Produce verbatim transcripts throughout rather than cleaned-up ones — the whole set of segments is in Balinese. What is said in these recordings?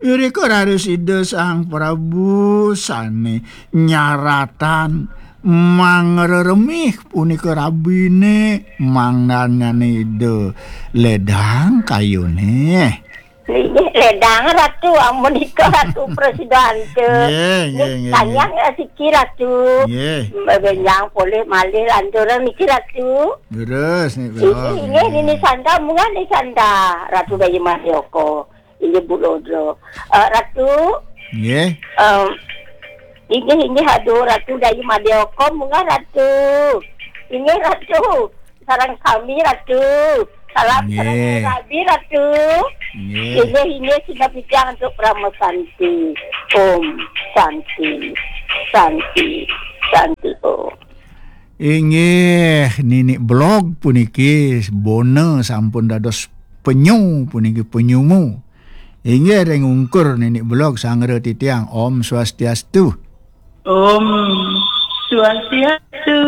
Irika raris Ida Sang Prabu sane nyaratan mangreremih punika rabine, mangdanane Ida ledang kayune. Inggih, ledang, Ratu, amunika Ratu prasida antuk. Nggih, nggih, nggih, nggih. Kanyang, eh, siki, Ratu. Nggih. Benjang polih malih lanturan niki, Ratu. Leres, Nik Belog. Inggih, inggih, Nini Sanda, munggah Nini Sanda, Ratu Dayi Madya Oka. Inggih, Bu Lodro. Eh, Ratu. Nggih. Em, inggih, inggih, aduh, Ratu Dayi Madya Oka, munggah, Ratu. Inggih, Ratu. Sareng sami, Ratu. Salam sareng rabi, Ratu. Nggih. Inggih, inggih, sinebut titiang antuk Parama Santi. Om Santi, Santi, Santi Om. Inggih, Nini Belog puniki bona sampun dados penyu puniki penyumu. Inggih, ring ungkur Nini Belog sangra titiang. Om Swastiastu. Om Swastiastu.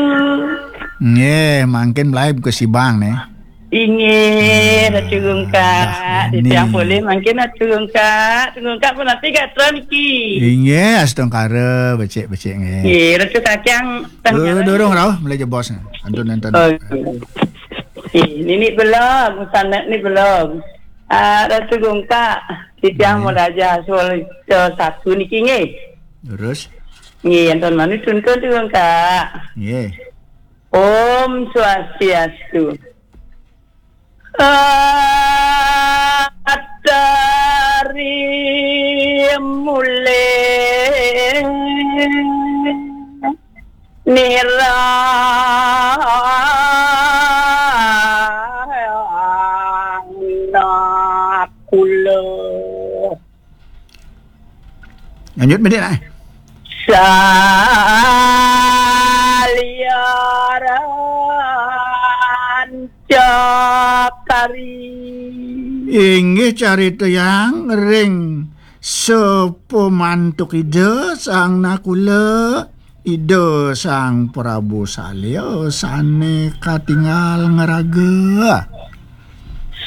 Nggih, mangkin mlaib ka Sibang, neh. Inggih, Ratu Gungkak. Titiang polih mangkin Ratu Gungkak. Ratu Gungkak punapi gatra niki? Inggih, astungkara, becik-becik, nggih. Nggih, Ratu Kacang. Durung, durung rauh, mlih jebos. Antun, antun. Oh, nggih. Nggih, Nini Belog, sané Nini Belog. Ah, Ratu Gungkak, titiang mau dajah soal satu niki, nggih. Terus? Nggih, antun mani tuntun, Ratu Gungkak. Nggih. Om Swastiastu. Atari mulih nirana kula. Lanjut, Medik, nah. Saliaran cakari. Inggih, caritayang ring sapamantuk Ida Sang Nakula, Ida Sang Prabu Salya sane katingal ngraga.